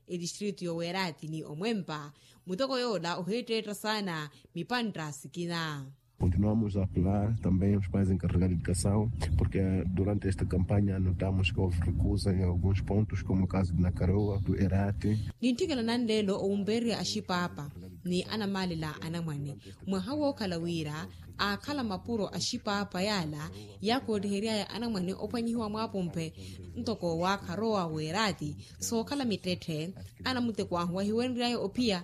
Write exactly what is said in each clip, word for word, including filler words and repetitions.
etistritu yoweeraati ni omwempa. Muteko yoola ohiitteetta saana mipantta sikina. Continuamos a apelar também os pais encarregados de educação, porque durante esta campanha notamos que houve recusa em alguns pontos, como o caso de Nakaroa, do Erate. Nintthikela nanleelo owumpeererya axipaapa ni anamaalela anamwane. Mwaha wookhala wira aakhala mapuro axipaapa yaala yaakoottiheriaya anamwane ophwanyihiwa mwaapomphe ntoko waakharowa weeraati sookhala mittetthe. Anamuteko ahu ahiwerenry'aya ophiya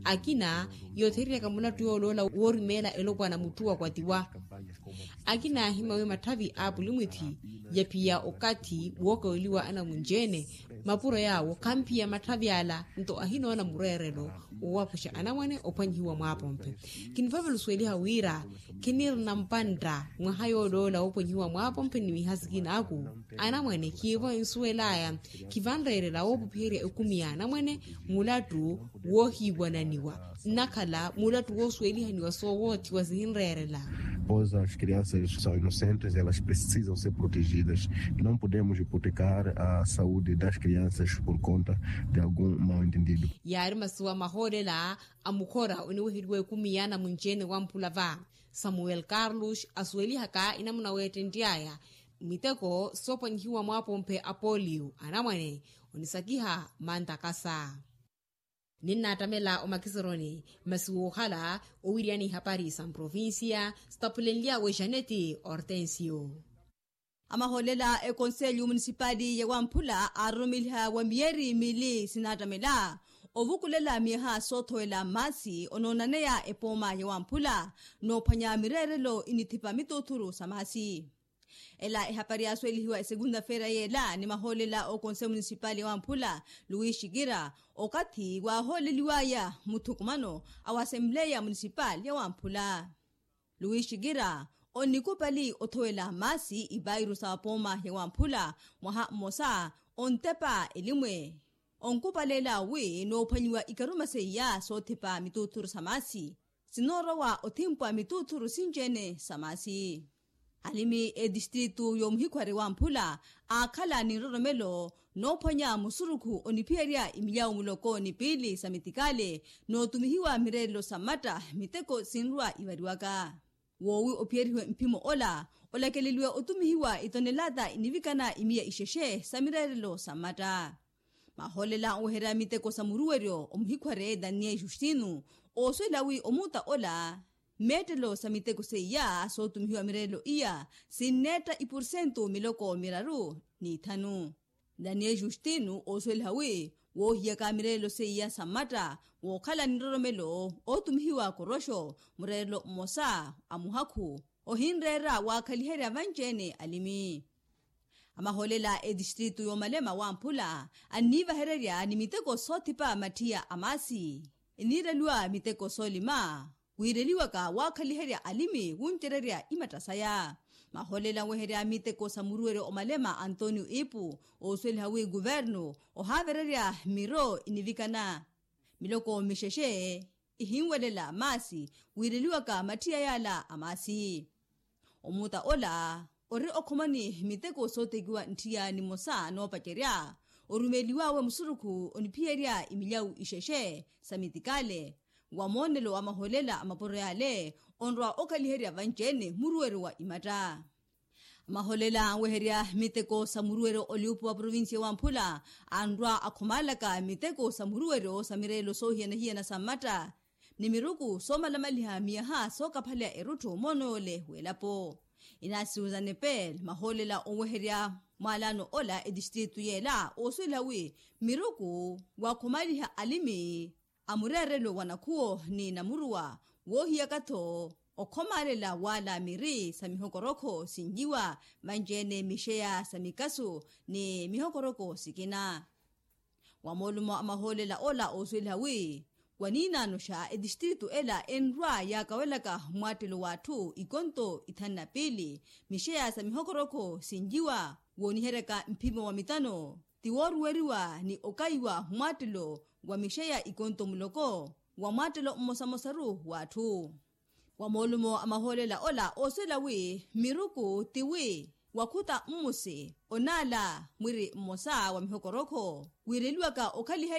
akina yoothereryaka mulattu yooloola woorimeela elopwana mutthu wakwatiwa. Akina ahimawe matthavi a apulimwithi yaphiya okathi wookaweliwa anamunci-ene. Mapuro yaawo khamphiya matthavi ala nto ahinoona mureerelo owapuxa anamwane ophwanyihiwa mwaapomphe. Kinivavela osuweliha wira khinirina mpantta mwaha yooloola woophwanyihiwa mwaapomphe ni miha sikinaaku. Anamwane khiivo ensuwel'aya khivanreerela woopuphiherya ekumi ya anamwane mulattu woohiiwananiwa nnakhala mulattu woosuwelihaniwa soowoothiwa sihinreerela. Pois as crianças são inocentes, elas precisam ser protegidas. Não podemos hipotecar a saúde das crianças por conta de algum mal entendido. Yaari masuwa mahoolela a mukhora oniweheliwa ekumi ya anamunci-ene wamphula va samuel carlos asuwelihaka enamuna weettentt'aya miteko soophwanyihiwa mwaapomphe a polio anamwane onisakiha mantakasa. Ninnaattamela omakiseroni masi woohala owiriyana ihapari sa mprovincia sitaphulenly'awe janeti hortensio. Amahoolela ekonselyo munisipali ya wamphula aaroromeliha wa miyeri miili sinaattamela ovukulela miyaha soothowela maasi onoonaneya epooma ya wamphula noophwanya mireerelo inithipa mituuthuru sa maasi. Ela ehapari yaasuwelihiwa esekunda feira yeela ni mahoolela a okonse munisipali ya wamphula luwi xikira okathi waahooleliwaya muthukumano a wa asempleya munisipali ya wamphula. Luwi xikira onikupali othowela maasi ipairu sa wapooma ya wamphula mwaha mmosa ontepa elimwe. Onkupalela wi noophwanyiwa ikaruma seiya soothipa mituuthuru sa maasi sinoorowa othimpwa mituuthuru sinci-ene sa maasi. Alimi etistritu y'omuhikhwari wamphula aakhala ni nroromelo noophwanya musurukhu oniphiyerya imilyawu muloko ni piili sa mitikale nootumihiwa mireerelo sa mmatta miteko sinrwa ivariwaka. Woowi ophiyerihiwe mphimo ola olakeleliwe otumihiwa itonelata inivikana imiya ixexe sa mireerelo sa mmatta. Mahoolela onweherya miteko sa muruweryo omuhikhware daniel justino oosuwela wi omuuta ola mmeettelo sa miteko seiya sootumihiwa mireerelo iya sinneetta ipursentu miloko miraru n'ithanu. Daniel justino oosuweliha wi woohiyaka mireerelo seiya sa mmatta wookhala ni nroromelo ootumihiwa koroxo mureerelo mmosa a muhakhu ohinreera waakhaliherya vanci-ene alimi. Amahoolela etistritu y'omalema wamphula anniivahererya ni miteko soothipa mathiya a maasi eniireliwa miteko soolima wiireliwaka waakhaliherya alimi wuncererya imatta saya. Mahoolela anweherya miteko sa muruweryo omalema antonio ipu oosuweliha wi kuvernu ohaavererya miro inivikana miloko mixexe ihinwelela maasi wiireliwaka mathiya yaala a maasi. Omuuta ola ori okhomani miteko sootekiwa ntthiya nimosa noopacerya orumeeliwawe musurukhu oniphiyerya imilyawu ixexe sa mitikale wa moonelo wa mahoolela a mapuro yaale onrwa okhaliherya vanci-ene muruweryo wa imatta. Amahoolela anweherya miteko sa muruweryo oliupu wa provincia wa mphula anrwa akhomaalaka miteko sa muruweryo sa mireelo soohiyana-hiyana sa mmatta ni miruku soomalamaliha miyaha sookaphaleya erutthu moono yoole w'elapo. Inaasi susan epel mahoolela onweherya mwaalaano ola etistritu yeela oosuwela wi miruku waakhomaliha alimi a mureerelo wa nakhuwo ni namuruwa woohiyaka-tho okhomaalela waala miri sa mihokorokho sinjiwa vanci-ene mixeya sa mikasu ni mihokoroko sikina. Wa moolumo a mahoolela ola oosuweliha wi waniinaanoxa etistritu ela enrwa yaakawelaka mmwaattelo w'atthu ikonto ithanu na piili mixeya sa mihokorokho sinjiwa wooniheryaka mphimo wa mitano ti wooruweriwa ni okaiwa mmwaattelo wa mixeya ikonto muloko wa mwaattelo mmosamosaru w'atthu. Wa moolumo a mahoolela ola oosuwela wi miruku ti wi wakhuta mmusi onaala mwiri mmosa wa mihokorokho wiireliwaka okhaliha